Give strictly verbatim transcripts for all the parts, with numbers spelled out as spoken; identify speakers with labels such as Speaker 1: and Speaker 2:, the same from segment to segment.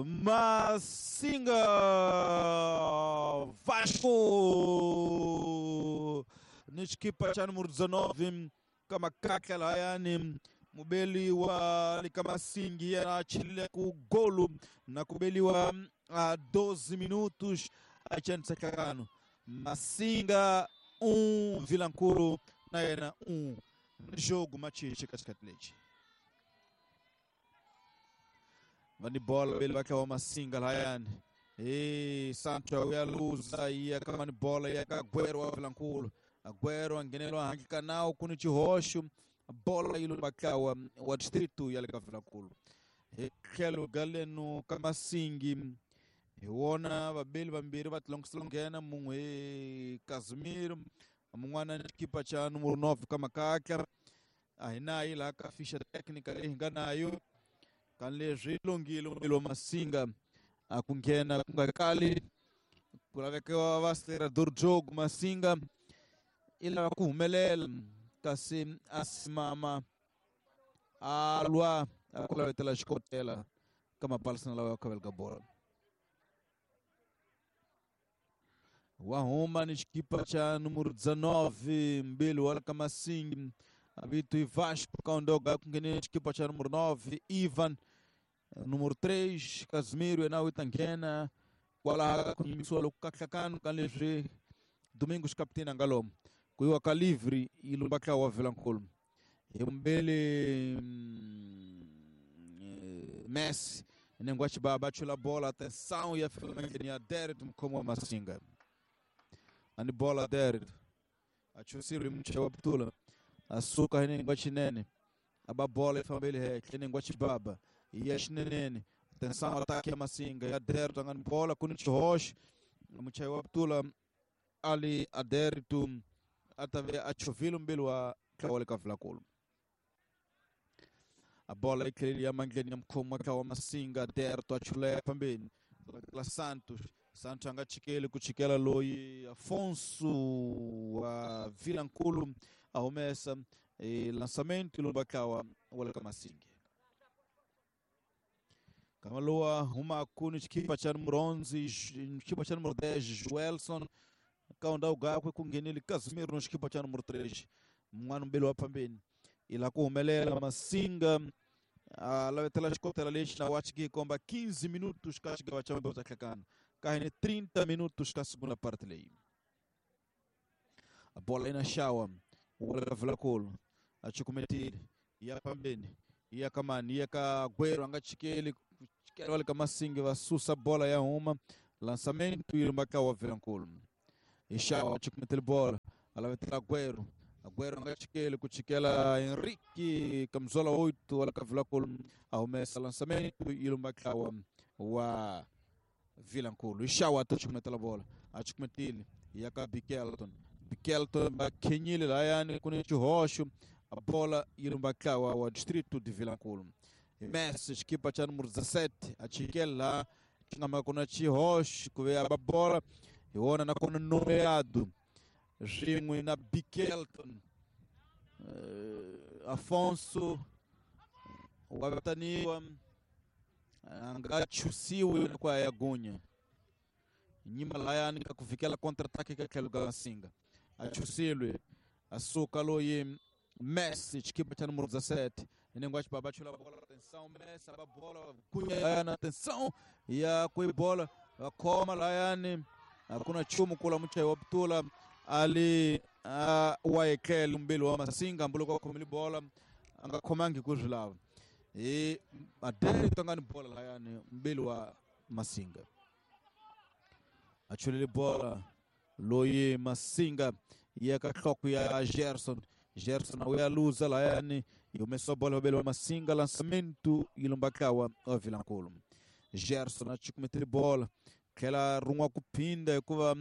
Speaker 1: Masinga Vasco ni xikipa xa numero dezenove ka makakla layani mubeli wa le ka Masingi yena a chelile ku golu na ku beliwa a doze minutos a chansekano Masinga um Vilankulu na yena um jogo machichi ka xikati lexi va ni bola beli va tlawa Masinga layani e Sancho ya luza ya kama ni bola ya ka Agüero wa Vilankulu. Agüero a ngheneliwa handle ka nawu ku ni xihoxo bola yi lo vatlawa wa distrito ya le ka Vilankulu hi tlhelo ga leno ka Masingi hi wona vabeli vambirhi va tilongisela nghena mun'we hi Casimiro mun'wana ni xikipa xa numero nove ka makatla a hi nayi laha ka ficha técnica leyi hi nga nayo ka leswi longile mubeli wa Masinga a ku nghena ku nga kali ku laveka va acelerador jogo Masinga i lava ku humelela kasi a simama a lwa a ku lavetela xikotela ka mapalisana lawa ya khavela ka bola wa huma ni xikipa xa numero dezenove mbili wa ka Masingi vito i Vasco kaondoga ku nghenile xikipa xa numero nove Ivan numero três Casimiro yena u ta nghena kwalaha ku yimisiwa loko ka hlakano ka leswi Domingos capitena nga lomu ku yiwa ka livre yi lumba tlawa wa Vilankulu hi mbele Messi nengo wa xibaba chula bola atenção ya fika ya Derek mukhomi wa Masinga ani bola Derek a chusile mucha wa putula a suka hi nengo wa xinene a ba bola yi fambele henhla nengo wa xibaba ya xinenene atenção ataque ya Masinga ya Derek a nga ni bola ku ni xihoxo muchayi wa putula ali Aderito a ta ve a chovile mbili wa tlawa le ka Vilankulu a bola yi tlheleli ya mandleni ya mukhomi wa tlawa wa Masinga Aderito a chulaya fambeni la Santos Santos a nga chikeli ku chikela loyi Afonso wa Vilankulu a humesa e lançamento lomba tlawa wa le ka Masinga kama lowa huma ku ni xikipa xa numero onze xikipa xa numero dez Joelson ka ndhawu gakwe ku nghenile Casimiro no xikipa xa numero três mun'wana mbeli wa phambeni i la ku humelela Masinga a lavetela xikotela lexi na wachi ki komba quinze minutos ka xigava xa mbewu ta hlekana ka hine trinta minutos ka segunda parte leyi a bola ina xawa wa ka Vilankulu a chukumetile ya phambeni ya ka mani ya ka Agüero a nga chikeli chikela le ka Masingi va susa bola ya huma lançamento yi lumba ka wa Vilankulu Ixawa a chukumetile bola a lavetela Agüero Agüero a nga chikeli ku chikela Henrique camisola oito wa ka Vilankulu a humesa lançamento yi lumba tlawa wa Vilankulu Ixawa ta chukumetela bola a chukumetile ya ka Bikelton Bikelton va khenyile layani ku ni xihoxo a bola yi lumba tlawa wa distrito de Vilankulu Messi xikipa xa numero dezessete a chikela laha xi nga maka ku na xihoxo ku ve a ba bola hi wona nakona nomeado swin'we na Bikelton uh, Afonso wa vitaniwa a nga chusiwi ku ya gunya nyima layani ka ku fikela contra-ataque ka tlhelo ka Masinga a chusilwe a suka loyi Messi xikipa xa numero dezessete nengo wa xibaba chula bola atenção Messi a bola gunya layani atenção ya ku bola va khoma layani a ku na nchumu kula muchayi wa putula ali uh, wa etlele mbili wa Masinga hambiloko a khomile bola a nga khomangi ku swi lava hi Aderito a nga ni bola layani mbili wa Masinga a chulele bola loyi Masinga ya ka nhloko ya Gerson Gerson a ya luza layani yi humesa bola vabeli wa Masinga lançamento yi lumba tlawa wa Vilankulu Gerson a chukumetile bola tlhela rin'wa ku phinda hikuva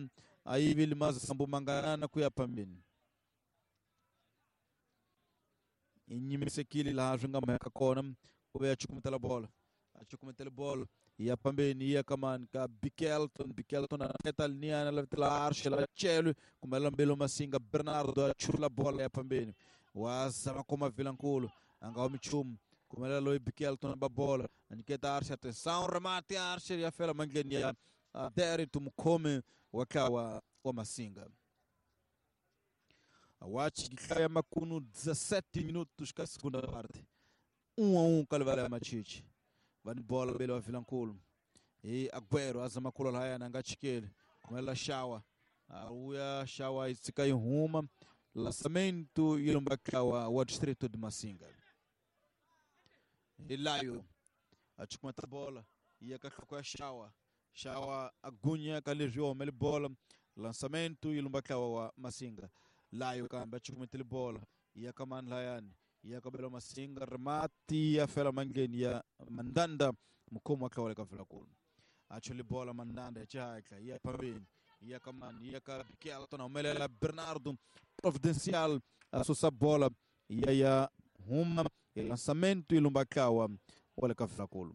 Speaker 1: a yivile mazambu manganana ku ya phambeni i nyimisekile laha swi nga mhaka kona ku ve a chukumetela bola a chukumetela bola ya phambeni ya ka mani ka Bikelton Bikelton a teta liniana lavetela Arshela Chelwe kumela mbelo Masinga Bernardo a chula bola ya phambeni wa zama kuma Vilankulu a nga humi nchumu Kumelela loyi Bikelton ba bola. Aniketa Archer, atenção, remate Archer ya fela mandleni ya Derito mukhomi wa tlawa wa Masinga. Awachi gihlaya makunu dezessete minutos ka segunda parte. um a um kalivala ya Machichi. Vani bola bele wa Vilankulu. E Agüero azama kula haya na ngachikele. Kumelela Shawa. Auya Shawa isika ihuma. Lançamento ilumbakawa wa distrito de Massinga. Ilayo achikumata bola ia kakwa Shawa. Shawa agunya kalejio mele bola. Lançamento ilumbakawa wa Massinga. Layo kamba achikumete bola ia kaman layani. Ia kabelo Massinga remati ya fela mangeni ya Mandanda mkomo akawale kafela kulu. Achuli bola Mandanda chaka ia pambeni. Ia kaman ia kabikelton omelela Bernardo Providencial asusa bola ia ya huma lançamento ilumbakawa wale kafela kulu.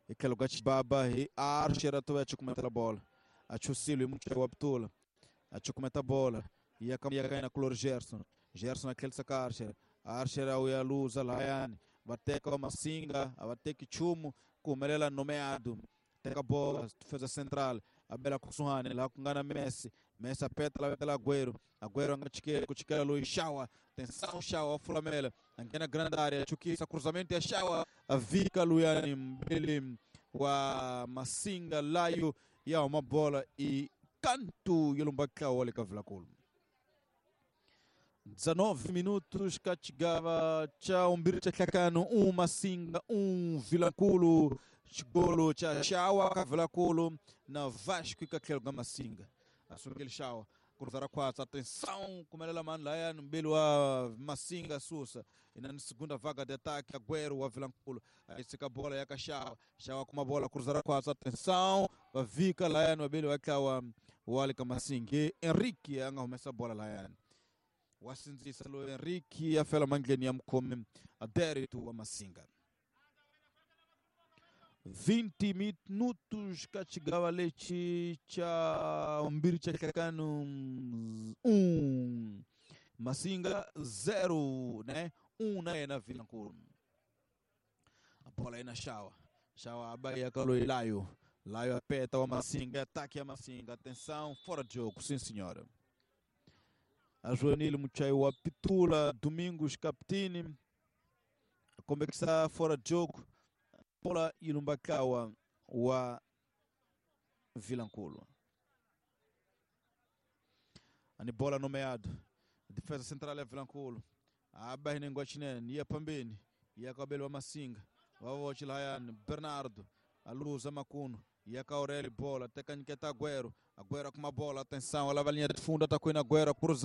Speaker 1: Ikelo gachibaba e Archer atoa achikumeta bola. Achusilo mucho waptula. Achikumeta bola ia kam ia kaina Clor Gerson. Gerson aquele saca Archer. Archer au ya luza layani. Bateka Massinga, abateki chumu kumelela nomeado. Teka bola defesa central. Abela Kusuhane lá com Gana Messi. Messi apeta lá pela Agüero. Agüero angachikele kuchikela Luiz Shawa. Tensão Shawa Flamela. Angena grande área. Chukisa cruzamento ya Shawa. Avika Luyani mbili wa Massinga Layo ya uma bola e canto Yelumbaka wale kavila kulu. dezenove minutos katigava cha umbiri cha tlakano um Massinga um Vilankulu. Golo cha Shawa Kavilakulu na Vasco e Katlelo ga Massinga. Assume aquele Shawa. Cruzar a quatro. Atenção, kumelela mano lá no belo a Massinga Sussa. E na segunda vaga de ataque, Agüero a Vilankulu. Aí fica a bola e a Shawa. Shawa com uma bola, cruzar a quatro. Atenção, Vika lá no belo a o Alika Massinga. E Henrique anga começa a bola lá. O Assinzisa lo Henrique a fela mangleni amkome adérito a Massinga. vinte minutos katigava leite cha umbiri cha kakano um Massinga zero, né? Um na na Vilankulu. A bola aí na Shawa. Shawa abaia kalo Layo. Layo apeta o Massinga, ataque a Massinga. Atenção, fora de jogo, sim senhora. A Joanilo Muchaio Apitula, Domingos Captini. Como é que está fora de jogo? Bola ilumbakawa wa Vilankulu. Ani bola nomeado. Defesa central é Vilankulu. Aba hinengwachinene ia pambeni. Ia kabelo wa Massinga. Wavochi layani Bernardo. A luz a Macuno. Ia ka Aurélio bola. Teka Niketa Agüero. Agüero com uma bola. Atenção. Ela vai linha de fundo. Atacou na Agüero. Cruzado.